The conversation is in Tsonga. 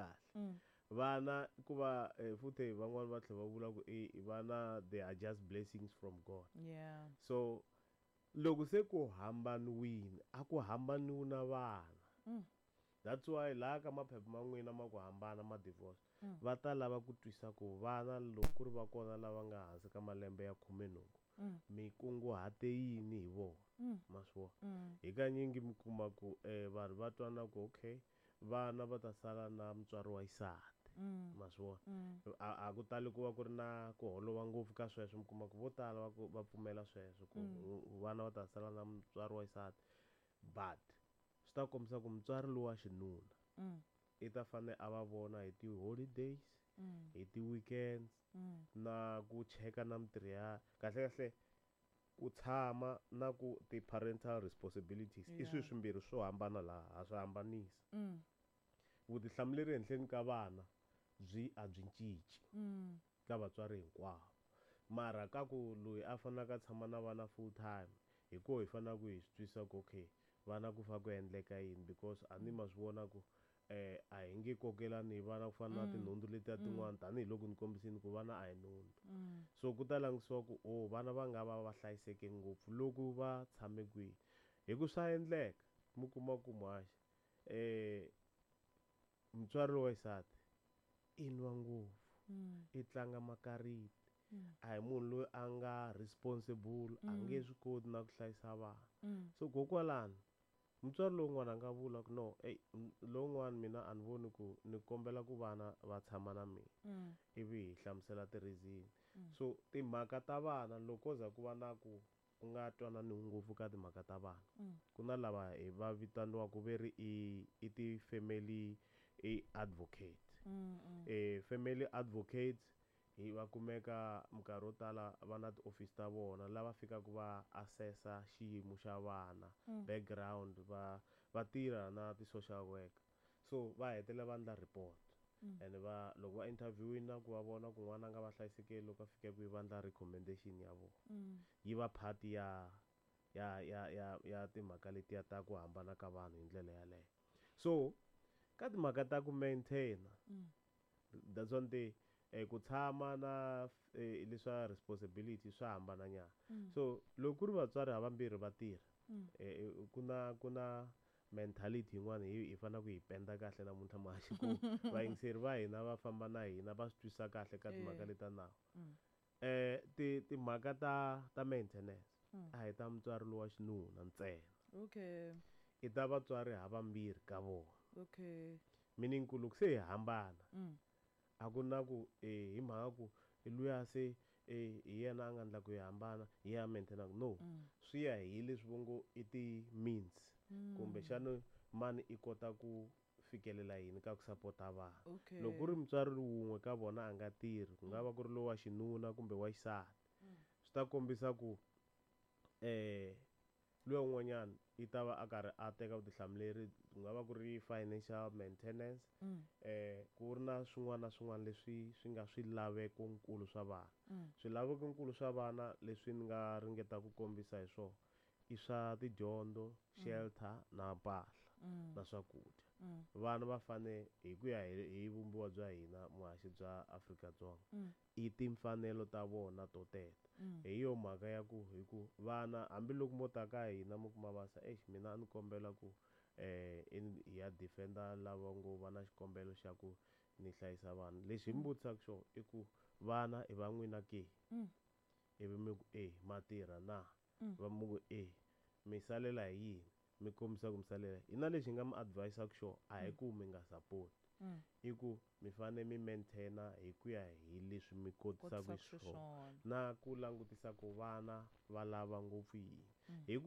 Kahle vana ku va futhi van'wani va tlhela va vula ku i vana, they are just blessings from God. So loko se ku hambaniwini, a ku hambaniwi na vana. That's why laha ka maphepha ma n'wina ma ku hambana, ma divorce, va ta lava ku twisa ku vana loko ku ri va kona lava nga hansi ka malembe ya 18, mi kunguhate yini hi vona. Ma swi vona? Hi kanyingi mi kuma ku vanhu va twana ku okay, vana va ta sala na mutswari wa xisati. Ma swi vona? A ku tali ku va ku ri na ku holova ngopfu ka sweswo. Mi kuma ku vo tala va ku va pfumela sweswo ku vana va ta sala na mutswari wa xisati, but swi ta kombisa ku mutswari lowa wa xinuna i ta fane a va vona hi ti-holidays, hi ti-weekends, na ku cheka na mintirho ya kahle kahle, ku tshama na ku ti-parental responsibilities i swilo swimbirhi swo hambana laha ha swi hambanisa. Vutihlamuleri henhleni ka vana byi a byi cinci ka vatswari hinkwavo, mara ka ku loyi a faneleke a tshama na vana full time, hi koho hi faneleke hi swi twisisa ku okay, vana ku fa ku endleka yini, because a ni ma swi vona ku a hi nge kokelani hi vana ku fana na tinhundzu letiya tin'wana, tanihiloko ni kombisini ku vana a hi nhundzu. So ku ta langutisiwa ku o vana va nga va va hlayiseke ngopfu loko va tshame kwihi, hi ku swa endleka mi kuma ku muhaxi mutswari lowa xisati i nwa ngopfu, i tlanga makariti, a hi munhu loyi a nga responsible, a nge swi koti na ku hlayisa vana. So kokwalano mutswari lowun'wana a nga vula ku no, ey, lowun'wana mina a ni voni ku ni kombela ku vana va tshama na mina, ivi hi hlamusela ti-reason. So timhaka ta vana, loko ko za ku va na ku ku nga twananiwi ngopfu ka timhaka ta vana, ku na lava hi va vitaniwaku ve ri i ti-family i advocate. Family advocates hi va kumeka minkarhi yo tala va na tiofisi ta vona lava fikaka va assessa xiyimo xa vana, background, va tirha na ti-social worker, so va hetelela va endla report. And va loko va interviewini na ku va vona ku n'wana a nga va hlayisekeli, loko a fika kwihi va endla recommendation ya vona. Yi va part ya timhaka letiya ta ku hambana ka vanhu hi ndlela yaleyo. So ka timhaka ta ku maintain, that's one thing, ku tshama na leswa responsibility swa hambana nyana. So loko ku ri vatswari havambirhi va tirha, ku na mentality yin'wana hi fanele ku yi penda kahle namuntlha muhaxi, ku vayingiseri va hina va famba na hina va swi twisisa kahle ka timhaka leta nawu. Ti timhaka ta maintenance a hi ta mutswari lowa xinuna ntsena. I ta vatswari havambirhi ka vona. Meaning ku loko se hi hambana, a ku na ku hi mhaka ku luya se hi yena a nga endla ku hi hambana, hi yena a maintainaka, no. Swi ya hi leswi vo ngo i ti-means, kumbexana mani i kota ku fikelela yini ka ku sapota vana. Loko ku ri mutswari wun'we ka vona a nga tirhi, ku nga va ku ri lowa xinuna kumbe wa xisati, swi ta kombisa ku luya un'wanyana i ta va a karhi a teka vutihlamuleri, ku nga va ku ri financial maintenance, ku ri na swin'wana na swin'wana leswi swi nga swilaveko nkulu swa vana. Swilaveko nkulu swa vana leswi ni nga ringeta ku kombisa hi swona i swa tidyondzo, shelter na mpahla na swakudya. Vana va fane hi ku ya hi vumbiwa bya hina muhaxi bya Afrika-Dzonga, i timfanelo ta vona to teta. Hi yo mhaka ya ku hi ku vana, hambiloko mo ta ka hina mi kuma va sa exi, mina a ni kombela ku hi ya defender lava ngo va na xikombelo xa ku ni hlayisa vana, lexi hi mi vutisaka xona i ku vana i va n'wina ke? Ivi mi ku e, ma tirha na? Va mu ku e, mi salela hi yini? Mi kombisa ku mi salela hina. Lexi hi nga mi advisaka xona a hi ku mi nga support, i ku mi fane mi maintaina hi ku ya hi leswi mi kotisaka kotisaka xiswona xiswona na ku langutisa ku vana va lava ngopfu yini hi ku.